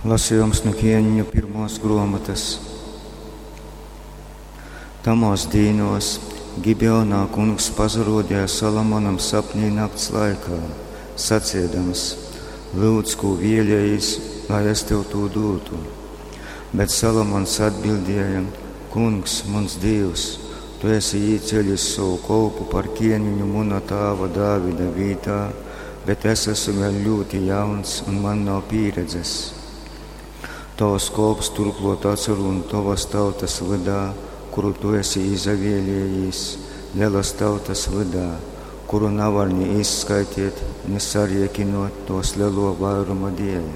Lasījums nu Ķēniņu pirmos gruomotas. Tamōs dīnōs Gibeonā Kungs pasaruodeja Salomonam sapnī nakts laikā, saciedams: Lyudz, kū vēlējīs, lai es tev tū dūtu. Bet Salomons atbildēja: Kungs, muns Dīvs, tu esi īcēlis sovu kolpu par ķēniņu muna tāva Dāvida vītā, bet es esmu vēl ļoti jauns un man nav pieredzes. Tavs kolps turklot atsarūn tovas tautas vydā, kuru tu esi izavēlējis, lelas tautas vydā, kuru navar ni izskaitīt, ni sariekinot tos lelo vairuma dēļ.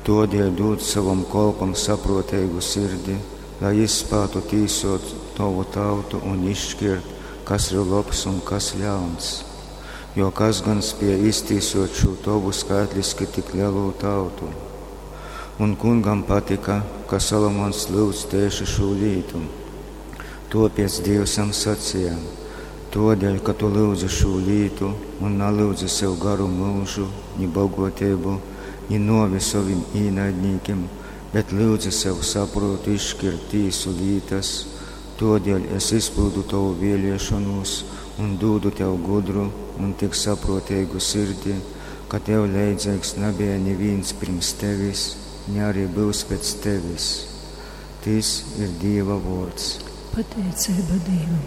Todēļ dūd savam kolpam saproteigu sirdi, lai izspātu tīsot tovu tautu un izšķirt, kas ir lobs un kas ļauns. Jo kas gan spēja iztīsot šo tovu skaitliski tik lielo tautu? Un kungam patika, ka Salomons lūdz tieši šo lītu. Topiec Dievs jam sacīja: Todēļ, ka tu lūdzi šo lītu un nalūdzi sev garu mūžu, ni bogotību, ni novi saviem īnaidniekiem, bet lūdzi sev saprotu izšķirt tīsu lītas, todēļ es izpildu tavu vēlēšanos un dūdu tev gudru un tik saprotīgu sirdi, ka tev leidzīgs nebija neviens pirms tevis, ne arī būs pēc tevis. Tis ir Dieva vārds. Pateicība Dievam.